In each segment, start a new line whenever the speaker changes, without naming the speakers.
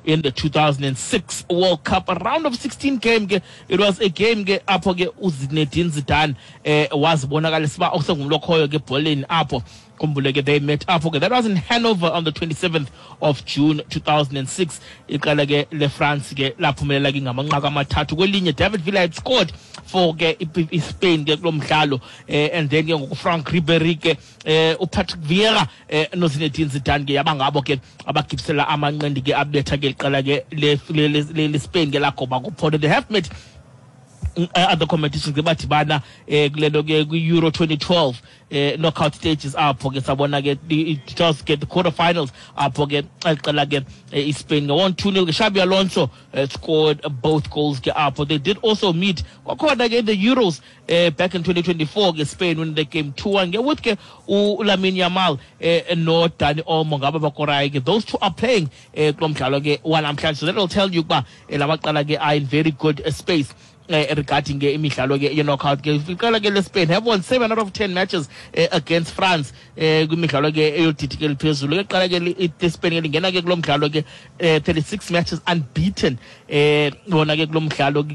in the 2006 World Cup. A round of 16 game ke, it was a game ke apho ke uZinedine Zidane wazibonakalisa uba usengumntu okhoyo ke ebholeni apho. Khumbule ke they met apho ke. That was in Hanover on the 27th of June 2006. Iqela ke leFrance ke laphumelela ke ngamanqaku 3-1. David Villa had scored for ke iSpain ke kulo mdlalo, and then ke ngoku Franck Ribéry ke, uPatrick Vieira, noZinedine Zidane ke yaba ngabo ke abagibisela amanqindi ke abetha ke iqela ke leSpain ke lagoba kuphondo. They have met other competitions ke, badibana kule nto ke kwi-Euro 2012 knockout stages apho ke sabona ke it just get the quarterfinals apho ke iqela ke iSpain ke won 2-0 ke. Xabi Alonso scored both goals ke apho. They did also meet kwakhona ke in the Euros back in 2024 ke, Spain win the game 2-1 ke with ke uLamine Yamal no Dani Olmo ngabo bakorayo ke. Those two are playing kulo mdlalo ke wanamhlanje, so that will tell you ukuba lamaqela ke are in very good space regarding ke imidlalo ke ye-knockout ke. Iqela ke leSpain have won 7 out of 10 matches against France kwimidlalo ke eyodidi ke eliphezulu ke. Qala ke leSpain ke lingena ke kulo mdlalo ke 36 matches unbeaten bona ke kulo mdlalo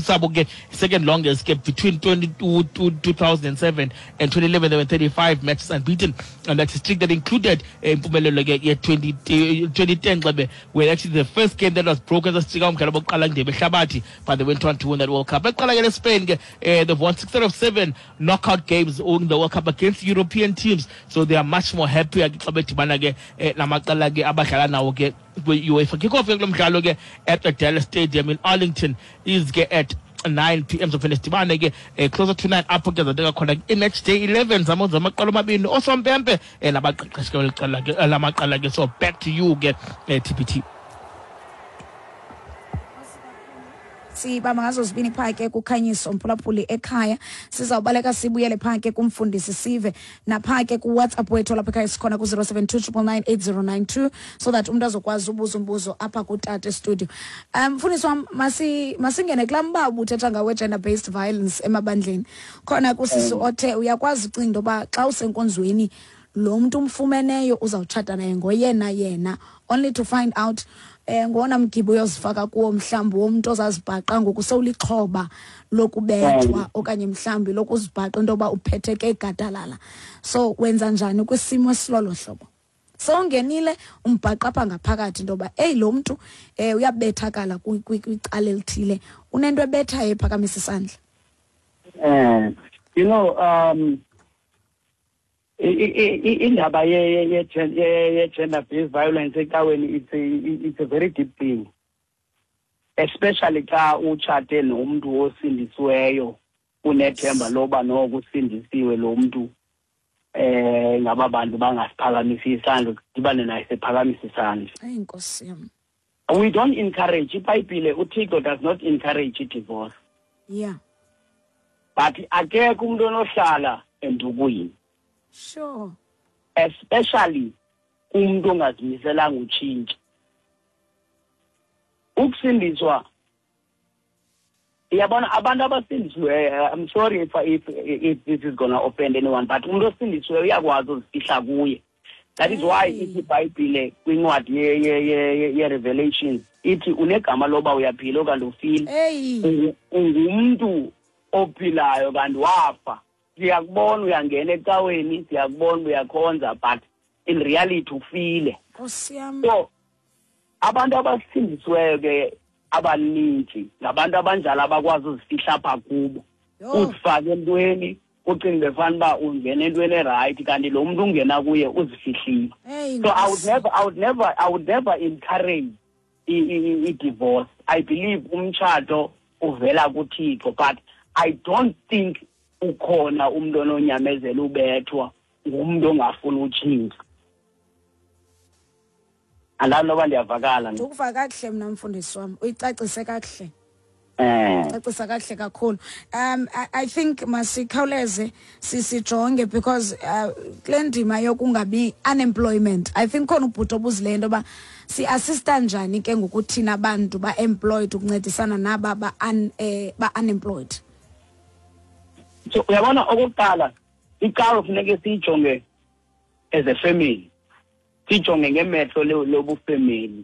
sabo ke, second longest ke. Between 2007 and 2011 there were 35 matches unbeaten, and that's a streak that included impumelelo ke ye-20 2010 xebe where actually the first game that was broken sasijika umdlalo bokuqala kundebe ehlabathi, but they went on to win that World Cup. Eqala ke leSpain ke, they've won 6 out of 7 knockout games in the World Cup against European teams, so they are much more happier ke xa bedibana ke namaqela ke abadlala nawo ke kwi-UEFA. Kickoff ke kulo mdlalo ke at the Dallas Stadium in Arlington is ke at 9 p.m. Sophinde sidibane ke closer to 9 apho ke zateka khona i-match day 11 zamaqela omabini osompempe nabaqeqeshi ke beli ke lamaqela ke. So back to you ke, TPT.
Sibamba ngazo zibini phaa ke kukhanyiso mphulaphuli ekhaya. Sizawubaleka sibuyele phaa ke kumfundisi, sive naphaa ke kuWhatsApp wethu lapha ekhaya, sikhona ku-072 999 8092, so that umntu azokwazi ubuza umbuzo apha kutata estudio. Mfundisi wam, masingene kulaa mba ubuthetha ngawo, gender based violence emabandleni. Khona kusisi othe uyakwazi ucinga into yoba xa usenkonzweni lo mntu umfumeneyo uzawutshata naye ngoyena yena, only to find out ngowona mgibe uyozifaka kuwo, mhlawumbi womntu ozazibhaqa ngoku sewulixhoba lokubethwa okanye mhlawumbi lokuzibhaqa into yoba uphetheke gadalala. So wenza njani kwisimo esilolo hlobo? Sewungenile, umbhaqa apha ngaphakathi into yoba eyi, lo mntu uyabethakala kwicala elithile, unento ebethayo ephakamisa isandla.
Indaba ye gender based violence ecaweni, it's a very deep thing, especially xa utshate nomntu osindisiweyo, unethemba loba noko usindisiwe lo mntu. Ngaba bantu bangasiphakamisi isandla, udibane naye sephakamisa isandla.
Eyi, nkosi yam.
We don't encourage, iBhayibhile, uThixo does not encourage i-divorce, but akekho umuntu onohlala endukwini, especially umuntu ongazimiselanga utshintsha. Ukusindiswa, iyabona, abantu abasindisiweyo, I'm sorry if this is gonna offend anyone, but umuntu osindisiweyo uyakwazi uzifihla kuye. That is why ithi iBhayibhile kwincwadi ye-Revelations, ithi unegama loba uyaphila okanye ufile. Ungumntu ophilayo kanti wafa. Siyakubona uyangena ecaweni, siyakubona uyakhonza, but in reality ufile.
Nkosi yam.
So abantu abasindisiweyo ke abaninzi ngabantu abanjalo abakwazi uzifihla apha kubo. Uzifake entweni, ucinge fana uba ungena entweni e-right, kanti lo mntu ungena kuye uzifihlile. So I would
Nkosi.
never I would never I would never encourage i-divorce. I believe umtshato uvela kuThixo, but I don't think ukhona umuntu ononyamezela ubethwa ngumntu ongafuni utshintsha. Andazi noba ndiyavakala.
Ndikuva kakuhle mna, mfundisi wam, uyicacise kakuhle. Cacisa kakuhle kakhulu. I think masikhawuleze sijonge because kule ndima yokungabi unemployment, I think khona ubhuti obuzileyo into yoba si-assista njani ke ngokuthina abantu ba-employed ukuncedisana naba ba-unemployed.
So uyabona, okokuqala icawe funeke siyijonge as a family, siyijonge ngemehlo lobufamily.